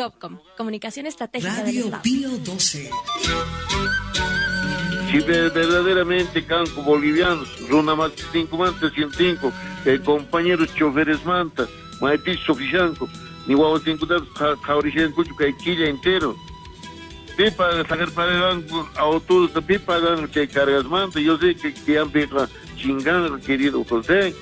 GOVCOM, Comunicación Estratégica del Radio Estado. Pío 12. Si verdaderamente kanku bolivianos, runa manta 105, compañeros choferes manta, maypis sufishanku, ni wawatinkuta qhawrishankuchu kay killa entero. Pipa sacarparanku autobusta, pipa pagan chay cargas manta, yo sé que yampiqa chinganqa, querido José.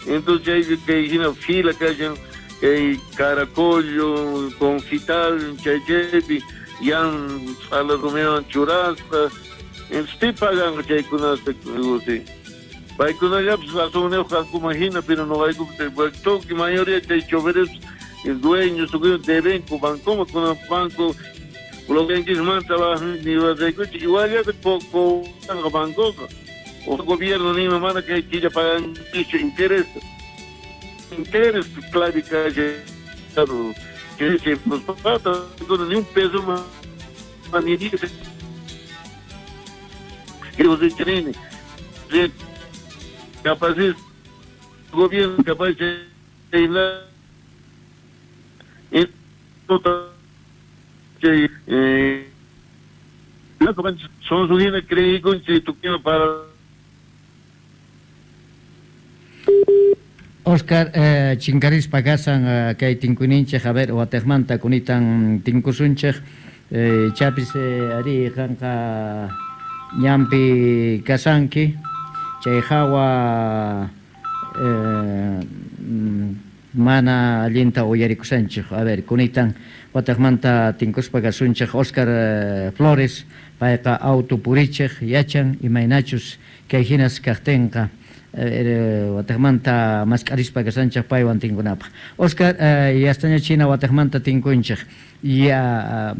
Entonces chay kay hina fila kashan, kay Caracollo, Confital, chay chaypi, yan ch'ala rumiwan churasqa. Entonces pi pagan chaykunata, José. Paykunallapis razonniyuq kankuman hina, pero noqayku tukuy mayoría chay choferes, dueños, tukuy debenku bancoman, kunan banco bloqueanchismanta ni raykuchi, igual poco bancoqa. O gobierno nima mana kay killa pagankichu interés. Interés clave que que nos falta ni un peso más ni dice. Que los tienen capaz es gobierno capaz de la son su creí con para Oscar, chinkarispa kasan kay tinkuninchej, a ver, watejmanta kunitan tinkusunchej, chapis ari qanqa ñanpi kasanki, chay hawa mana allinta uyarikusanchej, a ver, kunitan watejmanta tinkuspa kasunchej Oscar Flores, payqa auto purichej, yachan imaynachus kay hinas kaqtinqa. Watejmanta mask'arispa kasanchej paywan tinkunapaq. Oscar, yastaña china watejmanta tinkunchej. Ya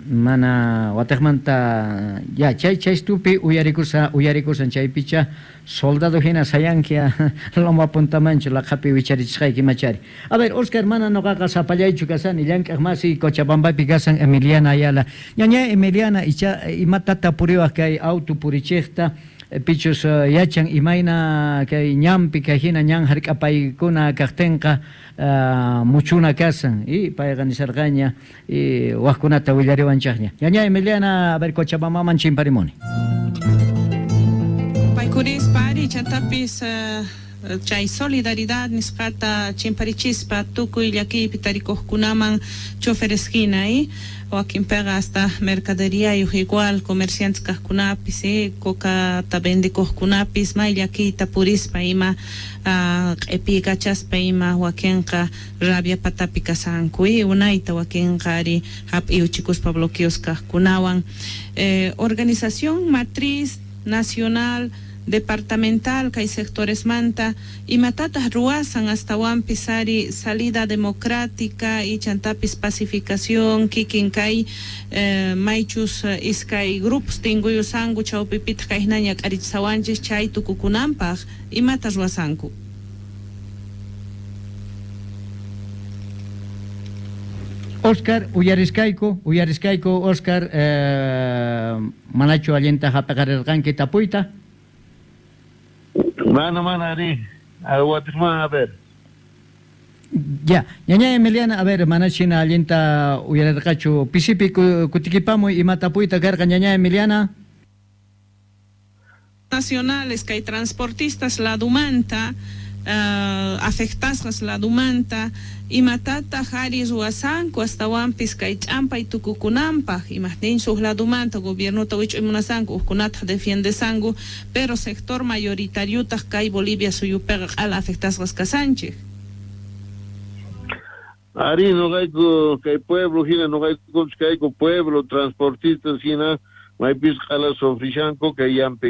mana watejmanta ya chay chaystupi uyarikusan chaypicha soldado hina sayankia loma puntamanchu laqhapi wicharichisqayki machari. A ver, Oscar, mana noqaqa sapallaychu kasani, llank'aq masi Cochabambapi kasan Emiliana Ayala. Ñaña Emiliana, icha imatata puriwaq kay auto purichejta pichus yachan imayna kay ñanpi kay hina ñan hark'apaykuna kaqtinqa muchuna kasan y payqa nisarqaña y waqkunata willariwanchaqña. Ñaña Emiliana, a ver, Cochabambaman chimparimuni. Paykurispa ari chatapis chay solidaridad nisqata chimparichispa tukuy llakiypi tarikuqkunaman choferes hina wakinpiqa hasta mercaderiyayuq igual comerciantes kaqkunapis cocata vendikuqkunapis may llakiyta purispa ima q'ipikachaspa ima wakinqa rabia patapi kasanku unayta wakinqa ari hap'iyuchikuspa bloqueos kaqkunawan. Organización matriz nacional departamental kay sectores manta imatataq ruwasan astawanpis ari salida democrática y chantapis pacificación kikin kay maychus iskay grupos tinkuyusanku chawpipitaq kayhinaña k'arichisawanchis chay tukukunanpaq imata ruwasanku. Oscar, uyariskayku Oscar, manachu allinta hap'aqarirqanki tapuyta? Mana, ari, a ver. Ya, ñaña Emiliana, a ver, manachina allinta uyarirqachu pisipi kutikipamuy ima tapuyta karqa ñaña Emiliana. Nacionales kay transportistas ladumanta, afectasqas ladumanta, imatataq ari ruwasanku astawanpis kay ch'ampay tukukunanpaq, imaqtinchu huk ladumanta gobiernota wich'uymunasanku hukkunataq defiendesanku, pero sector mayoritariotaq kay Bolivia suyupiqa q'ala afectasqas kasanchik. Ari noqayku kay pueblo hina noqayku kayku pueblo transportistas hina maypis q'ala sufrishanku kay yampi